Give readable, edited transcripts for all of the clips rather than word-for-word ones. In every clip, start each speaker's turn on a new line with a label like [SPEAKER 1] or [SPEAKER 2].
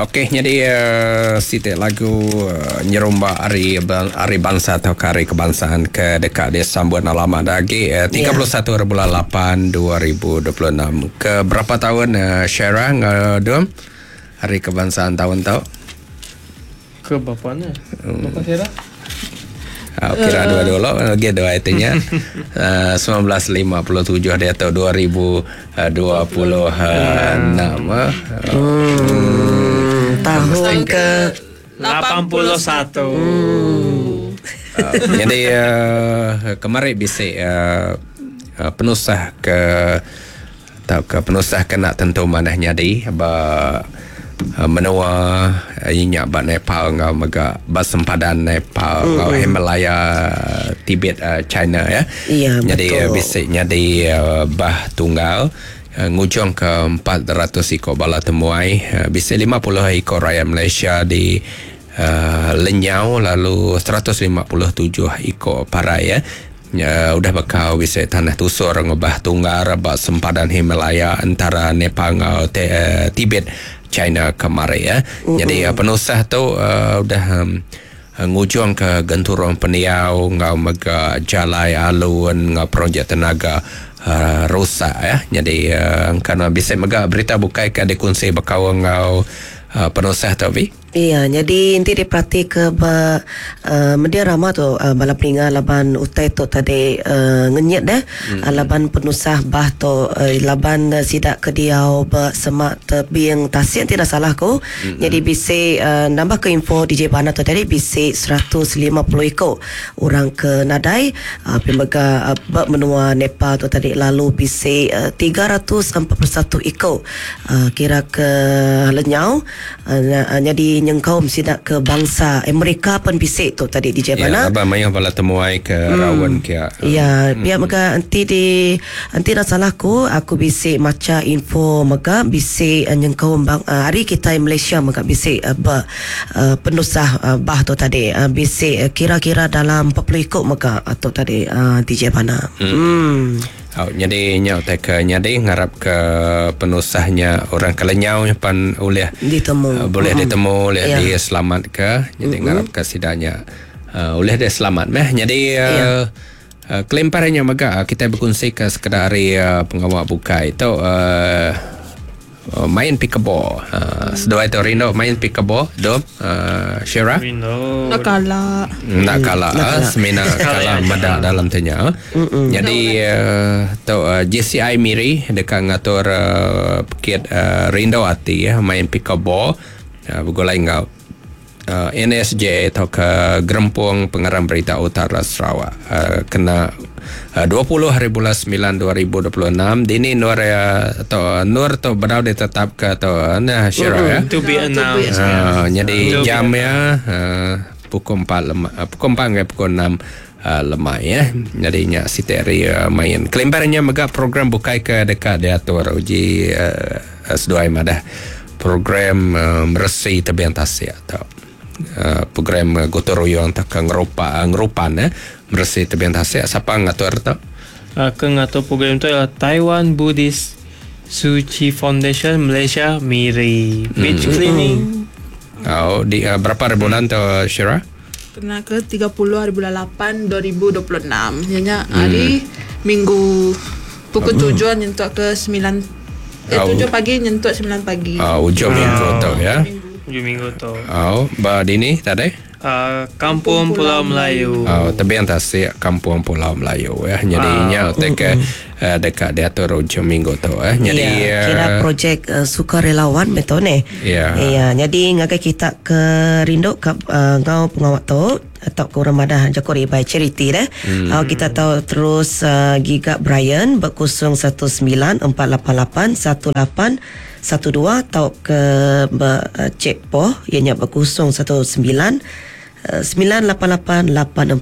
[SPEAKER 1] Okey nyadi siti lagu nyerumba hari hari bansa tauka hari kebangsaan ke deka disambut enda lama da agi 31 hari bulan lapan 2026. Ke berapa taun Shaira enggau Dum hari kebangsaan taun tu?
[SPEAKER 2] Ke bapa nya. Bapa Shaira?
[SPEAKER 1] Uh, kira dua dulu lagi dua itu nya. 1957 diatu 2026.
[SPEAKER 3] Hmm, tahun ke
[SPEAKER 2] 81.
[SPEAKER 3] Hmm.
[SPEAKER 1] Jadi uh, kemari bisi uh, penusah ke tauka penusah ke enda tentu manah nyadi ba menua iya nya ba Nepal enggau mega ba sempadan Nepal enggau Himalaya Tibet China ya.
[SPEAKER 3] Ya,
[SPEAKER 1] Nyadi
[SPEAKER 3] betul.
[SPEAKER 1] bisi nyadi bah tunggal ngujungka 400 iku bala temuai bisi 50 iku rayat Malaysia di lenyau lalu 157 iku parai ya. Nya udah bekau bisi tanah tusur ngubah tunggar ba sempadan Himalaya entara Nepal enggau Tibet, China kemari. Nyadi penusah tu udah ngujungka genturung pendiau enggau mega jalai alun enggau projek tenaga rusak. Nyadi engka bisi mega berita bukai ke dikunsi bekaul enggau penusah tu Vi.
[SPEAKER 3] Iya, nyadi enti diperatika ba uhh media rama tu uhh bala peninga laban utai tu tadi uhh ngenyit deh laban penusah bah tu uhh laban sida ke diau ba semak tebing tasik ti enda salah ku nyadi bisi uhh nambah ke info DJ Bana tu tadi bisi 150 iku orang ke nadai uhh pia mega ba menua Nepal tu tadi lalu bisi 341 iku uhh kira ke lenyau. Nyadi nyengkaum sida ke bangsa Amerika pen bisi tu tadi DJ
[SPEAKER 1] Ya,
[SPEAKER 3] Bana.
[SPEAKER 1] laban mayuh bala temuai ke raun kia.
[SPEAKER 3] Ya, pia mega enti di enti enda salah aku, aku bisi macha info mega bisi nyengkaum bang ari kitai Malaysia mega bisi ba penusah bah tu tadi bisi kira-kira dalam 40 iku mega tu tadi DJ Bana. Emm.
[SPEAKER 1] Au nyadi nya utai ke nyadi ngarap ke penusah nya orang ke lenyau nya pan ulih
[SPEAKER 3] Ditemu.
[SPEAKER 1] bulih ditemu ulih
[SPEAKER 3] Ya.
[SPEAKER 1] diselamatka nyadi ngarap ke sida nya uhh ulih diselamat meh. Nyadi uhh kelimpah ari nya mega kitai bekunsika sekeda ari pengawa bukai tu uhh Main pickleball. Seduai tu rindu main pickleball, Dom, Shira?
[SPEAKER 2] Rindu.
[SPEAKER 4] Enda kala.
[SPEAKER 1] Enda kala, semina kala meda dalam tu nya. Nyadi tu JCI Miri deka ngatur pekit rindu ati main pickleball begulai enggau NSJA tauka Gerempung Pengarang Berita Utara Sarawak kena 20 hari bulan 9 2026 dini endur iya tu endur tu bedau ditetapka tu nah Shira ya.
[SPEAKER 2] To be announced.
[SPEAKER 1] Uh, nyadi jam iya uh, pukul 4 lema, pukul 4 ngagai pukul 6 uh, lemai ya. Nyadi nya siti hari uh, main. Kelimpah nya mega program bukai ke deka diatur uji uh, seduai madah program uh, meresi tebing tasik tu. Uh, program uh, gotong royong tauka ngerupa uh, ngerupan eh meresi tebing tasik sapa ngatur tu?
[SPEAKER 2] Uh, ke ngatur program tu ialah Taiwan Buddhist Tzu Chi Foundation Malaysia Miri Beach Cleaning.
[SPEAKER 1] Oh, di uh, berapa hari bulan tu Shira?
[SPEAKER 4] Kena ke 30 hari bulan 8 2026 iya nya hari minggu pukul 7 nyentuk ke 9 eh 7 pagi nyentuk 9 pagi.
[SPEAKER 1] Oh, ujung minggu tu ya.
[SPEAKER 2] Ujung minggu tu.
[SPEAKER 1] Oh, ba dini tadi?
[SPEAKER 2] Uh, Kampung Pulau Melayu.
[SPEAKER 1] Oh, tebing tasik Kampung Pulau Melayu ya. Jadi nya utai ke deka diatur ujung minggu tu eh. Nyadi
[SPEAKER 3] Ya, kira projek uh, sukarelawan meh tu neh.
[SPEAKER 1] Ya.
[SPEAKER 3] Ya, nyadi ngagai kita ke rindu ka uh, enggau pengawa tu atau ke orang madah jaku ribai charity deh. Hmm. Uh, kita tau terus uh, giga Brian ba 019 488 18 12 tau ke ba uh, Cik Poh iya nya ba 019 988 8492.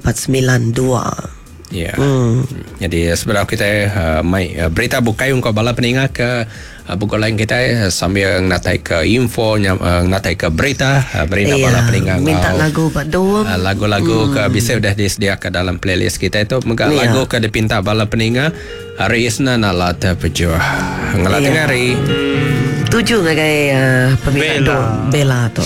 [SPEAKER 1] Ya. Hmm. Jadi sebedau kita uh, mai uh, berita bukai ungkup bala peninga ke uh, begulai kita sambil ngatai ke info uh, ngatai ke berita uh, berita yeah. bala peninga
[SPEAKER 3] minta lagu ba dom
[SPEAKER 1] uh, lagu-lagu hmm. ke bisa udah disediakan dalam playlist kita itu mega yeah. lagu ke dipinta bala peninga hari Isnin ala terpejuh. Ngelat yeah. hari. Hmm.
[SPEAKER 3] Tuju ngagai uh, peminta
[SPEAKER 2] Bella.
[SPEAKER 3] Bella tu.